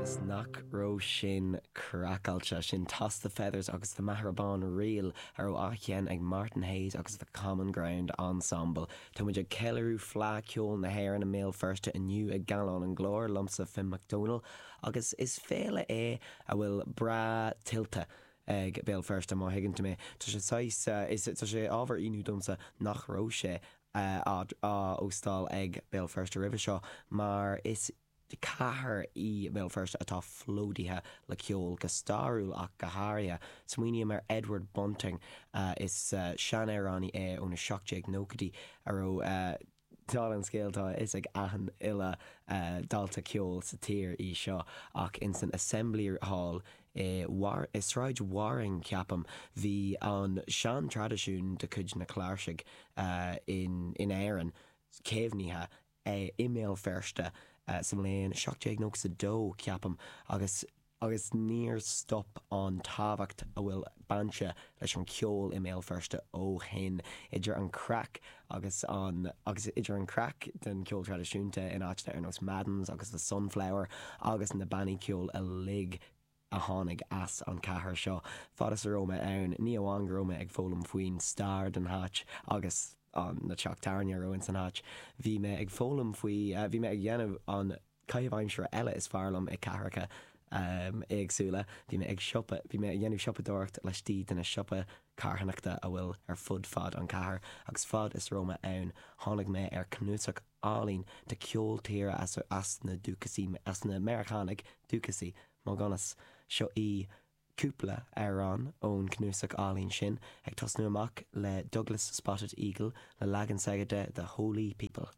Agus nach raibh sin craiceáilte? Sin Toss the Feathers agus The Maghera Bawn Reel a raibh á sheinm ag Martin Hayes agus The Common Ground Ensemble. Tá muid ag ceiliúradh Fleadh Ceoil na hÉireann i mBéal Feirste inniu ag Gallán an Ghlóir, liomsa Finn Mac Dónaill, agus is féile é a bhfuil breá tuillte ag Béal Feirste, má thuigeann tú mé. Tá sé saghas, is tá sé ábhar ionadh domsa nach raibh sé á óstáil ag Béal Feirste roimhe seo mar is cathair í Béal Feirste atá plódaithe le ceol, go stairiúil ach go háirithe. Smaoiním ar Edward Bunting, is seanamhránaí é ó na 1790idí a raibh, dála an scéil tá a fhios ag achan uile dalta ceoil sa tír í seo, ach ins an Assembly Hall i i Sráid Waring ceapaim, bhí an sean-traidisiún de chuid na cláirsigh in in Éirinn caomhnaithe i mBéal Feirste sa mbliain 1792 ceapaim agus agus níor stop an tábhacht a bhfuil bainte leis an cheol i mBéal Feirste ó shin, idir an craic agus an agus idir an craic den cheol traidisiúnta in áiteanna ar nós Madden's agus The Sunflower agus na bannaí ceoil uilig a tháinig as an chathair seo. Fad is a raibh mé ann, ní amháin go raibh mé ag foghlaim faoin stair den háit agus an na teach tábhairne a raibh ins an háit, bhí mé ag foghlaim faoi, bhí mé ag dhéanamh an caitheamh aimsire eile is fearr liom i cathracha éagsúla. Bhí mé ag siopa, bhí mé ag dhéanamh siopadóireacht laistigh de na siopa carthanachta a bhfuil ar fud fad an cathair agus fad is a raibh mé ann tháinig mé ar cnuasach álainn de ceol tíre as as na dúchasaí, as na Meiriceánaigh dúchasaí, mo dhonas. Seo í cúpla amhrán ón cnuasach álainn sin, ag tosnú amach le Douglas Spotted Eagle le leagan s'aige de The Holy People.